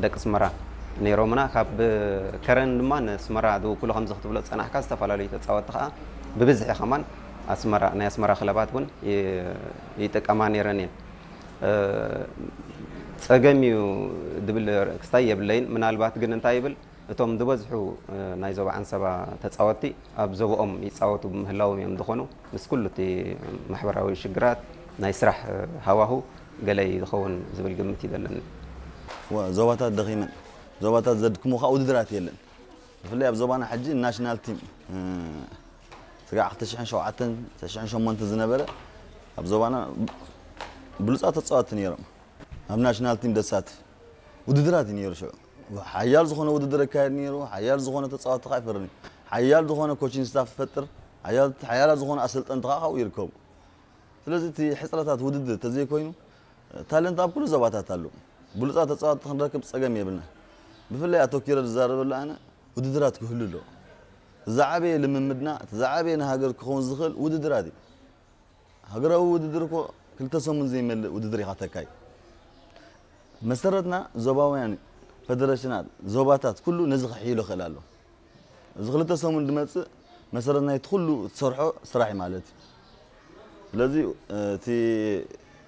ደቂ ኣስመራ ነይሮምና። ካብ ከረን ድማ ንኣስመራ ዝውክሉ ከምዚ ክትብሎ ዝጸናሕካ ዝተፈላለዩ ተጻወትቲ ከኣ ብብዝሒ ከማን ኣስመራ፣ ናይ ኣስመራ ክለባት እውን ይ-፣ ይጥቀማ ነይረን እየን። እ፣ ጸገም እዩ ዝብል ክስታይ የብለይን። ምናልባት ግን እንታይ ይብል፣ እቶም ዝበዝሑ፣ እ፣ ናይ ዞባ ዓንሰባ ተጻወትቲ ኣብ ዞባኦም ይጻወቱ ብምህላዎም እዮም ዝኾኑ። ምስ ኩሉ እቲ ማሕበራዊ ሽግራት፣ ናይ ስራሕ፣ እ፣ ሃዋሁ ገለ እዩ ዝኸውን ዝብል ግምት እዩ ዘለኒ። ወ-፣ ዞባታት ደኺመን፣ ዞባታት ዘድክሙ ከዓ ውድድራት የለን። ብፍላይ ኣብ ዞባና ሕጂ ናሽናል ቲም፣ እ፣ ስጋዕ ክልተ ሽሕን ሸውዓተን፣ ክልተ ሽሕን ሸሞንተን ዝነበረ ኣብ ዞባና ብሉጻት ተጻወትቲ ነይሮም። ኣብ ናሽናል ቲም ደሳትፍ ውድድራት እዩ ነይሩ። ሽዑ ሓያል ዝኾነ ውድድር ይካየድ ነይሩ። ሓያል ዝኾነ ተጻወትቲ ከዓ ይፈርም እዩ። ሓያል ዝኾነ ኮቺንግ ስታፍ ይፈጥር። ሓያል፣ ሓያላት ዝኾነ ኣሰልጠንቲ ከዓ ካብኡ ይርከቡ። ስለዚ እቲ ሕጽረታት ውድድር ተዘይኮይኑ፣ ታለንት ኣብ ኩሉ ዞባታት ኣሎ። ብሉጻት ተጻወትቲ ክንረክብ ጸገም የብልና። ብፍላይ ኣተኪረ ዝዛረበሉ ኣነ ውድድራት ክህሉ ኣለዎ። እቲ ዝዓበየ ልምምድና፣ እቲ ዝዓበየ ንሃገር ክኸውን ዝኽእል ውድድራት እዩ። ሃገራዊ ውድድር እኮ ክልተ ሰሙን ዘይመልእ ውድድር ኢኻ ተካይ። መሰረትና ዞባውያን ፌደሬሽናት፣ ዞባታት ኩሉ ነዚ ክሕይሎ ክእል ኣሎ። እዚ ክልተ ሰሙን ድመጽእ መሰረት ናይቲ ኩሉ ትሰርሖ ስራሕ እዩ ማለት እዩ። ስለዚ እቲ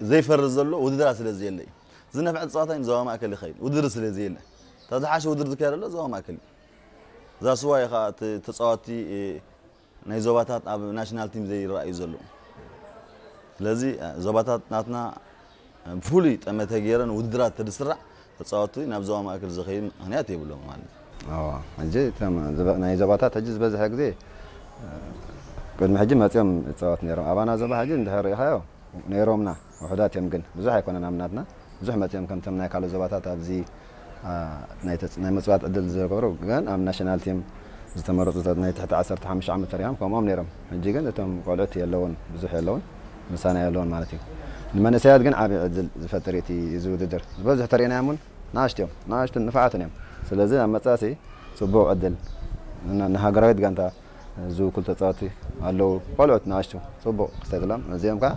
ዘይፈርስ ዘሎ ውድድራት ስለ ዘየለ እዩ። ዝነፍዐ ጸዋታ እዩ ዞባ ማእከል ይኸይድ፣ ውድድር ስለ ዘየለ። እታ ዝሓሸ ውድድር ዝካየደሎ ዞባ ማእከል እዩ። እዛ ስዋ እዩ ኸዓ እቲ ተጻዋቲ ናይ ዞባታት ኣብ ናሽናል ቲም ዘይረኣዩ ዘለዉ። ስለዚ ዞባታት ናትና ብፍሉይ ጠመተ ገይረን ውድድራት ተድስራዕ ተጻወቱ ናብ ዞባ ማእከል ዝኸይድ ምኽንያት የብሎም ማለት እዩ። ኣዋ፣ ሕጂ እቶም ዝበ-፣ ናይ ዞባታት ሕጂ ዝበዝሐ ግዜ፣ ቅድሚ ሕጂ መጺኦም ይጻወት ነይሮም። ኣባና ዞባ ሕጂ እንድሕር ርኢኻዮ ነይሮምና፣ ውሑዳት እዮም ግን፣ ብዙሕ ኣይኮነን ኣብ ናትና። ብዙሕ መጺኦም ከምቶም ናይ ካልእ ዞባታት ኣብዚ፣ ኣ፣ ናይ ተጽ-፣ ናይ ምጽዋት ዕድል ዝገብሩ ግን ኣብ ናሽናል ቲም ዝተመረጹ ናይ ትሕቲ ዓሰርተ ሓሙሽተ ዓመት ተሪኦም ከምኦም ነይሮም። ሕጂ ግን እቶም ቆልዑት የለውን፣ ብዙሕ የለውን፣ ምሳና የለውን ማለት እዩ። ንመንእሰያት ግን ዓቢ ዕድል ዝፈጥር እዩ እቲ፣ እዚ ውድድር። ዝበዝሑ ተሪእናዮም እውን ንኣሽቱ እዮም፣ ንኣሽቱን ንፉዓትን እዮም። ስለዚ ኣብ መጻሲ ጽቡቕ ዕድል ን-፣ ንሃገራዊት ጋንታ ዝውክሉ ተጻወትቲ ኣለዉ። ቆልዑት ንኣሽቱ ጽቡቕ ክስተትሎም፣ እዚኦም ከኣ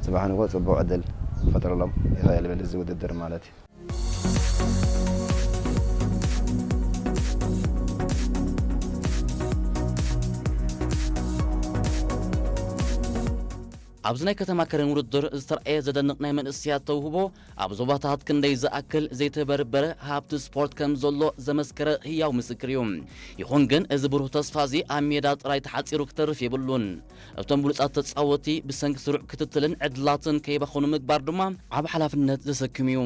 ጽባሕ ንግሆ ጽቡቕ ዕድል ክፈጥረሎም ይኽእል ይብል እዚ ውድድር ማለት እዩ። ኣብዚ ናይ ከተማ ከረን ውድድር ዝተረኣየ ዘደንቕ ናይ መንእሰያት ተውህቦ፣ ኣብ ዞባታት ክንደይ ዝኣክል ዘይተበርበረ ሃብቲ ስፖርት ከም ዘሎ ዘመስከረ ህያው ምስክር እዩ። ይኹን ግን፣ እዚ ብሩህ ተስፋ እዚ ኣብ ሜዳ ጥራይ ተሓጺሩ ክተርፍ የብሉን። እቶም ብሉጻት ተጻወትቲ ብሰንኪ ስሩዕ ክትትልን ዕድላትን ከይባኽኑ ምግባር ድማ ዓቢ ሓላፍነት ዘሰክም እዩ።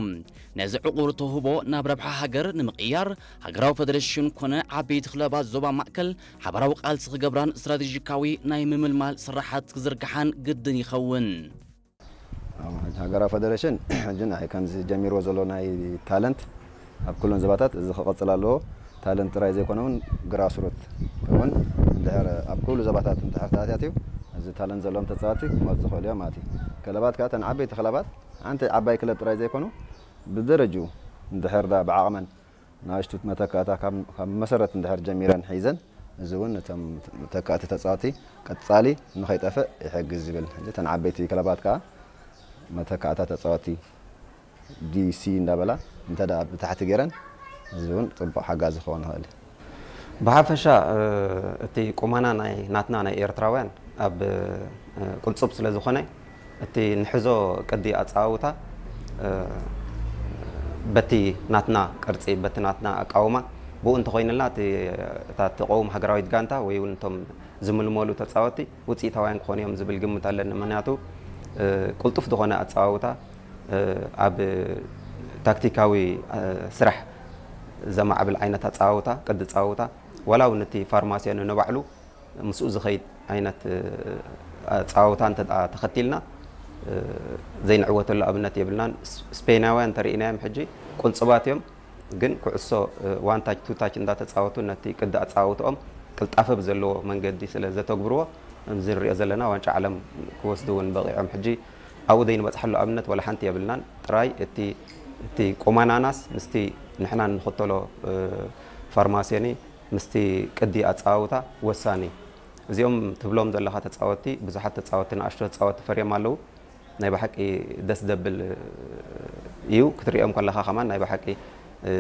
ነዚ ዕቑር ተውህቦ ናብ ረብሓ ሃገር ንምቕያር፣ ሃገራዊ ፈደረሽን ኮነ ዓበይቲ ክለባት ዞባ ማእከል ሓባራዊ ቃልሲ ክገብራን ስትራቴጂካዊ ናይ ምምልማል ስራሓት ክዝርግሓን ግድን ይኸውን። ኣዎ፣ ሕጂ ሃገራዊ ፈደረሽን ሕጂ ንዓይ ከምዚ ጀሚርዎ ዘሎ ናይ ታለንት ኣብ ኩለን ዞባታት እዚ ክቕጽል ኣለዎ። ታለንት ጥራይ ዘይኮነ እውን ግራስሩት እውን እንድሕር ኣብ ኩሉ ዞባታት እንድሕር ተኣታትዩ፣ እዚ ታለንት ዘለዎም ተጻወትቲ ክመጹ ዝኽእሉ እዮም ማለት እዩ። ክለባት ከኣ እተን ዓበይቲ ክለባት ሓንቲ ዓባይ ክለብ ጥራይ ዘይኮኑ ብደረጅኡ እንድሕር ዳ ብዓቕመን ንኣሽቱ መተካእታ ካብ፣ ካብ መሰረት እንድሕር ጀሚረን ሒዘን፣ እዚ እውን ነቶም ተካእቲ ተጻወትቲ ቀጻሊ ንኸይጠፍእ ይሕግዝ ዝብል። ሕጂ እተን ዓበይቲ ክለባት ከኣ መተካእታ ተጻወትቲ ዲ ሲ እንዳበላ እንተ ደኣ ብታሕቲ ገይረን፣ እዚ እውን ጽቡቕ ሓጋዚ ክኸውን ይኽእል። ብሓፈሻ፣ እ፣ እቲ ቁመና ናይ ናትና ናይ ኤርትራውያን ኣብ፣ እ፣ ቅልጹብ ስለ ዝኾነ፣ እቲ ንሕዞ ቅዲ ኣጸዋውታ፣ እ፣ በቲ ናትና ቅርጺ፣ በቲ ናትና ኣቃውማ፣ ብኡ እንተኾይንልና፣ እቲ፣ እታ ትቐውም ሃገራዊት ጋንታ ወይ እውን እቶም ዝምልመሉ ተጻወትቲ ውጽኢታውያን ክኾኑ እዮም ዝብል ግምት ኣለኒ። ምኽንያቱ፣ እ፣ ቅልጡፍ ዝኾነ ኣጸዋውታ፣ እ፣ ኣብ ታክቲካዊ፣ እ፣ ስራሕ ዘማዕብል ዓይነት ኣጸዋውታ፣ ቅዲ ኣጸዋውታ፣ ዋላ እውን እቲ ፋርማሲዮን ንባዕሉ ምስኡ ዝኸይድ ዓይነት፣ እ፣ ኣጸዋውታ እንተ ደኣ ተኸቲልና፣ እ፣ ዘይንዕወተሉ ኣብነት የብልናን። ስ-፣ ስፔናውያን እንተርኢናዮም ሕጂ ቁንጽባት እዮም፣ ግን ኩዕሶ፣ እ፣ ዋን ታች ቱ ታች እንዳተጻወቱ ነቲ ቅዲ ኣጸዋውትኦም ቅልጣፈ ብዘለዎ መንገዲ ስለ ዘተግብርዎ፣ ከምዚ ንሪኦ ዘለና ዋንጫ ዓለም ክወስዱ እውን በቒዖም። ሕጂ ኣብኡ ዘይንበጽሓሉ ኣብነት ዋላ ሓንቲ የብልናን። ጥራይ እቲ፣ እቲ ቁመናናስ ምስቲ ንሕና እንኽተሎ፣ እ፣ ፋርማሲዮኒ ምስቲ ቅዲ ኣጸዋውታ ወሳኒ። እዚኦም ትብሎም ዘለኻ ተጻወትቲ፣ ብዙሓት ተጻወትቲ፣ ንኣሽቱ ተጻወትቲ ፈርዮም ኣለዉ። ናይ ብሓቂ ደስ ዘብል እዩ። ክትርእዮም ከለኻ ከማን ናይ ብሓቂ፣ እ፣